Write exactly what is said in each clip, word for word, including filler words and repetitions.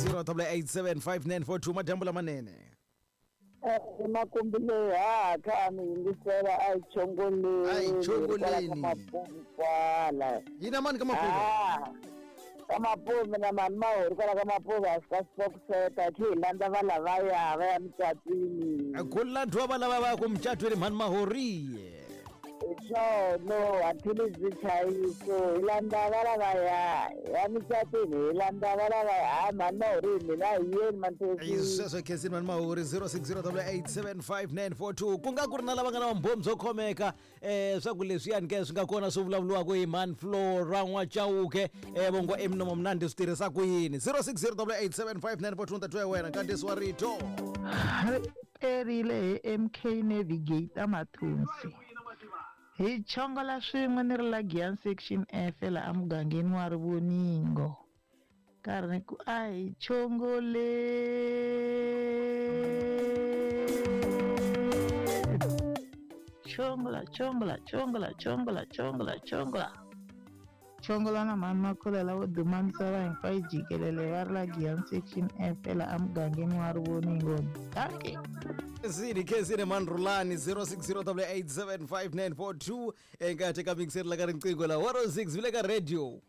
zero double eight seven five nine four two madyambu lamanene. Makumbi leyi ha kha mi yingisela a hi chongoleni. A hi chongoleni. Kwala. Yina mani ka Mapuve? Ka Mapuve na mani mahori kwala ka Mapuve a fika sfokuseta khi hi landza va lavaya va ya mucatwini. Ku landziwa va lava va ya ku mucatwini mhani mahori. Swona hambileswi nchayiso hi landza va lavaya ya mucatwini hi landza va lavaya ha mhani mahori mina hi yeni manthesi. Sweswo khensini mhani mahori zero six zero double eight seven five nine four two ku nga ku ri na lava nga na vumbhoni byo khomeka um swa ku leswiyani ke swi nga kona swi vulavuriwaka hi mhani Flora N'wachauke um vongo eminomo mnandi swi tirhisa ku yini zero six zero double eight seven five nine four two ntathu ya wena nkandziyiso wa rito ri perile hi M K Navigator Mathunzi. Hi chongola swin'we ni ri la Giyani section F la emugangeni wa Rivoningo. Karhi ni ku a hi chongoleni. Chongola, chongola, chongola, chongola, chongola, chongola. Chongola na mhani Makhulela wo duma misava hinkwayo jikelele va ri la Giyani section F la emugangeni wa Rivoningo. Dankie. Zini khensini mhani Rhulani zero six zero double eight seven five nine four two enkathi ka mixeri la ka riqingho la one oh six vile ka radio.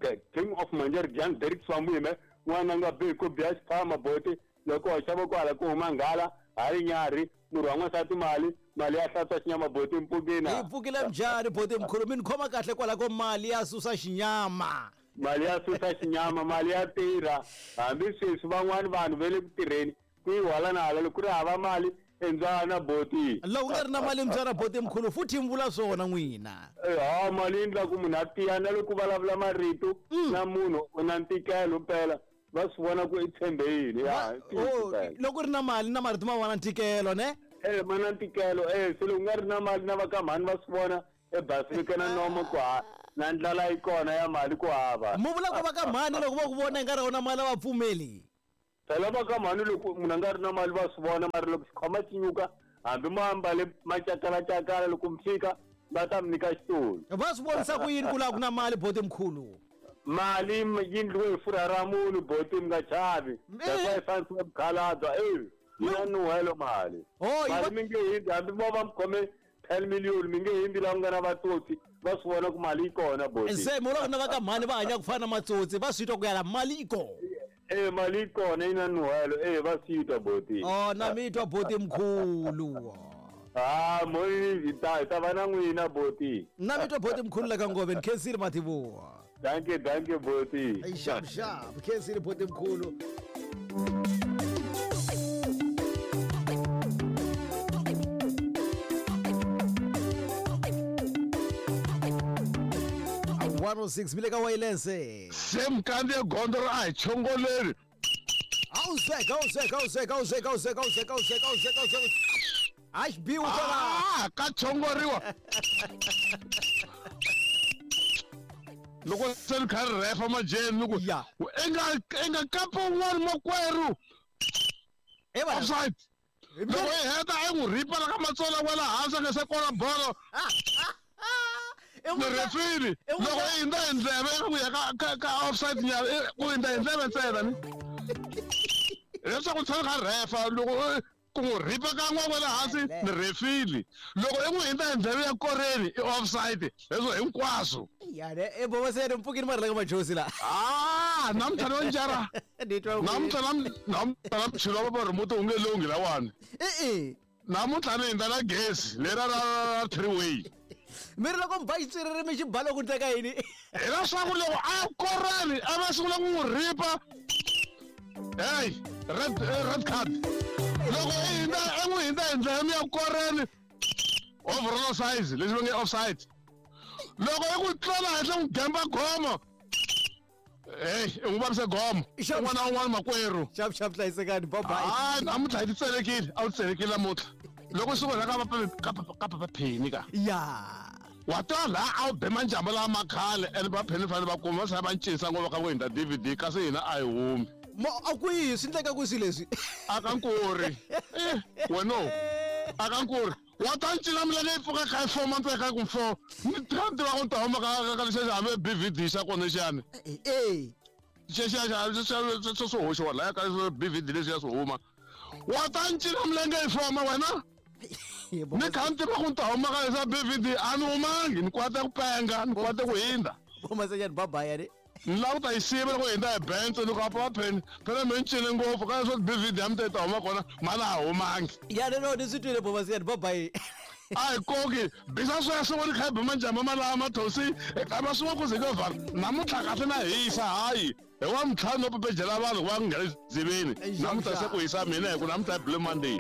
The King of Manjer Jan Derek Swamuyime n'wana nga bi ku biya xiphama boti loko wa xava kwala ku huma nghala hayi nyarhi murhi wa n'wansati mali mali ya hlantswa xinyama boti mpfukina. Yi pfukile njhani boti mkhulu mi ni khoma kahle kwala ko mali ya susa xinyama. Mali ya susa xinyama mali ya tirha hambi sweswi van'wani vanhu va le ku tirheni ku yi hala na hala loko ku ri hava mali endzana boti. Loko ku nga ri na mali mbyana boti mkhulu futhi mi vula swona n'wina. Ha mali yi endla ku munhu a tiya na loko vulavula marito na munhu u na ntikelo mpela va swi vona ku i tshembe yini. Loko ri na mali na marito ma va na ntikelo ne? Eh ma na ntikelo eh se loko ku nga ri na mali na va ka mhani va swi vona ebasini na nomo ku ha na ndlala yi kona ya mali ku hava. Mu vula ku va ka mhani loko va ku vona i nga ri na mali a va pfumeli. Phela va ka mhani loko munhu a nga ri na mali va swi vona mara loko xikhwama xi nyuka hambi mo ambale macakalacakala loko mi fika va ta mi nyika xitulu. Va swi vonisa ku yini ku laha ku na mali boti mkhulu? Mali yi endliwe hi furha ra munhu boti mi nga chavi. That's why yi fanisiwa mukhalabye e yi na nuhelo mali. Mali mi nge hindzi hambi mo va mi khome ten million mi nge hindzi laha ku nga na vatsotsi va swi vona ku mali yi kona boti. Se mo la ku na va ka mhani va hanya ku fana na matsotsi va swi twa ku yala mali yi kona. Eh mali yi kona yi na nuhelo eh va swi twa boti. Oh na mi twa boti mkhulu. Ah moyi hi ta hi ta va na n'wina boti. Na mi twa boti mkhulu la ka Ngove ni khensile mativuwa. Dankie dankie boti. Ay sharp sharp khensile boti mkhulu. one oh six mile ka wayilense. Se mkandziye gondzo ra a hi chongoleni. Awuzeka awuzeka awuzeka awuzeka awuzeka awuzeka awuzeka awuzeka awuzeka. A xi biwi kwala. Ah ka chongoriwa. Loko se ni kha ri refa majeni ni ku i nga i nga kapa un'wana makwerhu. Offside. Loko i heta i n'wi ripa la ka matsolo wa la hansi a nga se kona bolo. Ni refini loko i hindza hi ndleve ku ya ka ka ka offside nyana ku hindza hi ndleve ntsena ni leswaku tshama kha refa loko ku n'wi ripa kan'we kwala hansi ni refili loko i n'wi hindza hi ndleve ya koreni i offside leswo hinkwaswo. Ya ne e boboseni mpfukini mara la ka majosi la. Ah namuntlha no njara namuntlha namuntlha na mchilo va remote wu nge lunghi lawani. E-e namuntlha ni hindza na gezi lera ra three way. Mi ri loko mi ba xitswiriri mi xi ba loko ndleka yini? Hileswaku loko a koreni a va sungula ku n'wi ripa hey red red card loko i hindza i n'wi hindza hi ndlela ya koreni overall size leswi va nge offside loko i ku tlela henhla n'wi gemba gomo hey i n'wi vavise gomo un'wana na un'wana makwerhu. Xap xap hlayisekani bye bye. Hayi namuntlha hi ti tselekile a wu tselekile namuntlha loko swi vona ka va ka va pheni ka ya wa twa laha a wu be manjamba lama khale ene va pheni fanele va kuma va va cinisa ngopfu ka ku hindza D V D kasi hina a hi humi. Mo a kwihi swi endleka ku swilo leswi? A ka nkuri wena a ka nkuri wa ta ncina milenge yi pfuka kha yi four months ka ku four ni tiva ku ta huma ka ka lexi hambi B V D xa kona xiyani. E Xexiya xa swo swo hoxiwa laya ka B V D leswiya swi huma. Wa ta ni cina milenge yi foma wena? Ni kha ni tiva ku ni ta huma ka leswa B V D a ni humangi ni kwate ku penga ni kwate ku hindza. Bomasanyana bye-bye yani. Ni lava ku ta yi siva loko hi hindza hi Benz ni ku apa va pheni phela me ni cine ngopfu ka leswa B V D ya mi ta yi ta huma kona mhani a humangi. Ya no no ni swi twile Bomasanyana bye-bye. A hi koki bisa sweswo ni kha hi ba majamba malama thosi kamba swin'wana ku ze ka vhala namuntlha kahle na hisa hayi hi wa mintlhanu no pepejela vanhu va nghena dziveni namuntlha se ku hisa mina hi ku namuntlha hi Blue Monday.